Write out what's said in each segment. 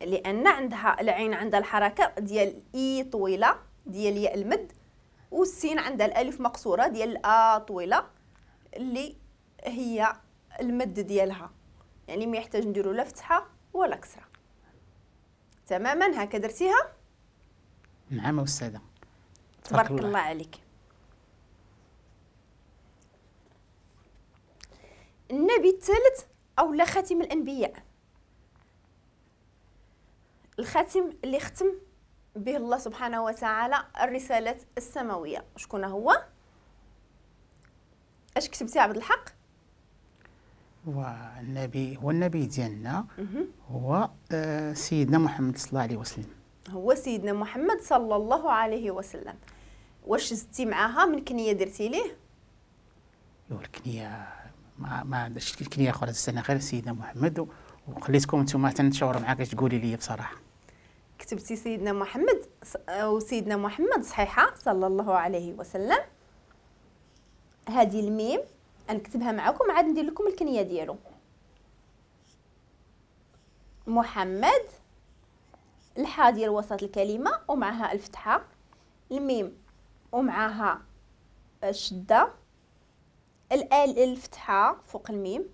لان عندها العين عندها الحركة ديال اي طويلة ديال ياء المد، والسين عندها الالف مقصورة ديال ا طويلة اللي هي المد ديالها، يعني ما يحتاج نديرو لا فتحه ولا كسره. تماما هكا درتيها؟ نعم استاذه. تبارك الله عليك. النبي الثالث او لا خاتم الانبياء، الخاتم اللي ختم به الله سبحانه وتعالى الرسالات السماوية، شكون هو؟ اش كتبتي عبد الحق؟ هو النبي، هو النبي ديالنا، هو سيدنا محمد صلى الله عليه وسلم. هو سيدنا محمد صلى الله عليه وسلم. واش زدتي معاها من كنيه درتي ليه؟ الكنية ما عندش الكنية اخرى السنة غير سيدنا محمد، وخليتكم نتوما تنشاوروا معاك اش تقولي لي بصراحة. كتبتي سيدنا محمد وسيدنا محمد صحيحه صلى الله عليه وسلم. هذه الميم نكتبها معكم عاد ندير لكم الكنية ديالو. محمد، الحاء ديال وسط الكلمة ومعها الفتحة، الميم ومعها الشدة، الال الفتحة فوق الميم،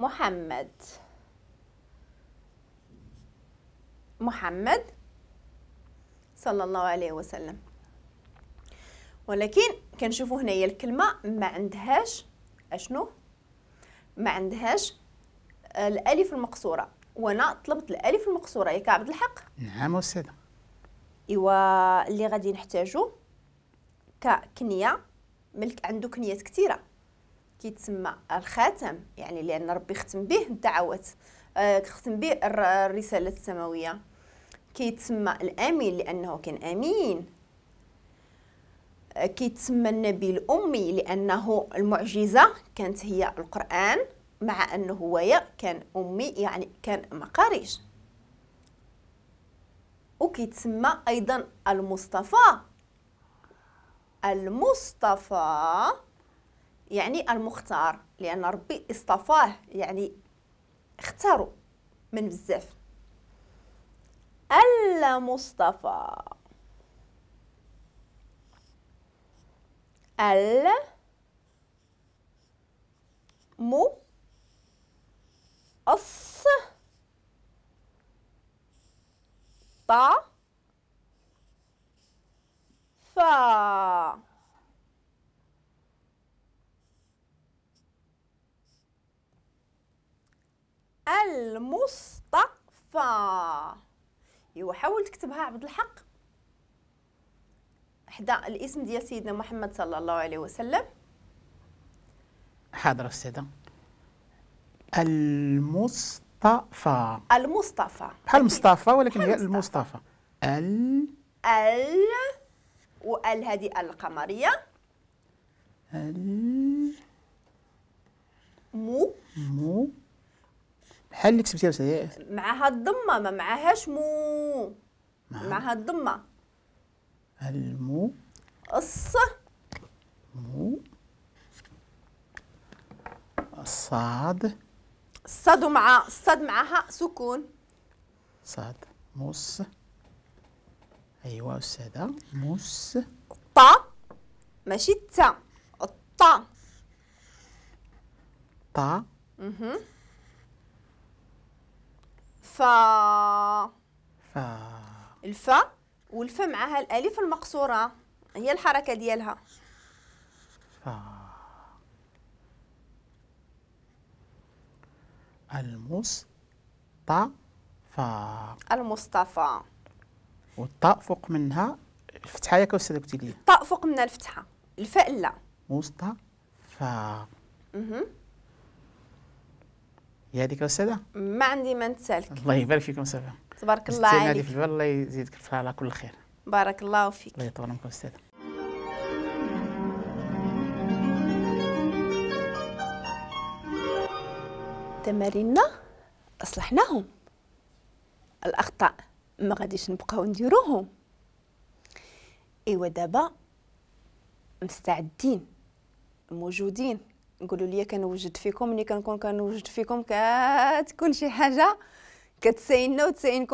محمد. محمد صلى الله عليه وسلم. ولكن كنشوفوا هنايا الكلمة ما عندهاش اشنو؟ ما عندهاش الالف المقصورة، وانا طلبت الالف المقصورة ياك عبد الحق؟ نعم استاذه. ايوا اللي غادي نحتاجو ككنيه، ملك عنده كنيات كثيرة، كيتسمى الخاتم، يعني لان ربي ختم به الدعوات، ختم به الرسالة السماوية. كيتسمى الامين لانه كان امين. كيتسمى النبي الامي لانه المعجزة كانت هي القران، مع انه هو كان امي يعني كان مقاريش. وكيتسمى ايضا المصطفى. المصطفى يعني المختار، لان ربي اصطفاه يعني اختاروا من بزاف. المصطفى، ال مو الص طا فا. المصطفى. ايوا حاول تكتبها عبد الحق حدا الاسم ديال سيدنا محمد صلى الله عليه وسلم. حاضر استاذه. المصطفى. المصطفى بحال مصطفى ولكن هي المصطفى. ال ال وال هذه القمريه. ال مو مو بحال اللي كتبتيها استاذه معها الضمة، ما معهاش مو، معها الضمة. المو الص مو الصاد الصاد مع الصاد معها سكون. صاد مص. ايوا استاذه مص. طا ماشي تا، الطا. طا. فا فا. الفا والفا معها الالف المقصورة هي الحركة ديالها. فا. المصطفى. المصطفى. والطاء فوق منها الفتحة ياك استاذه قلتي لي؟ الطاء فوق منها الفتحة، الفاء لا. مصطفى. هي هذيك استاذه؟ ما عندي ما نتسالك. الله يبارك فيكم استاذه. تبارك الله عليك. في البال الله يزيدك على كل خير. بارك الله فيك. الله يطول عمرك استاذه. تماريننا اصلحناهم، الاخطاء ما غاديش نبقاو نديروهم. ايوا دابا مستعدين موجودين، قولوا لي كنوجد فيكم، ملي كنكون كنوجد فيكم كتكون شي حاجة كتسايننا وتساينكم.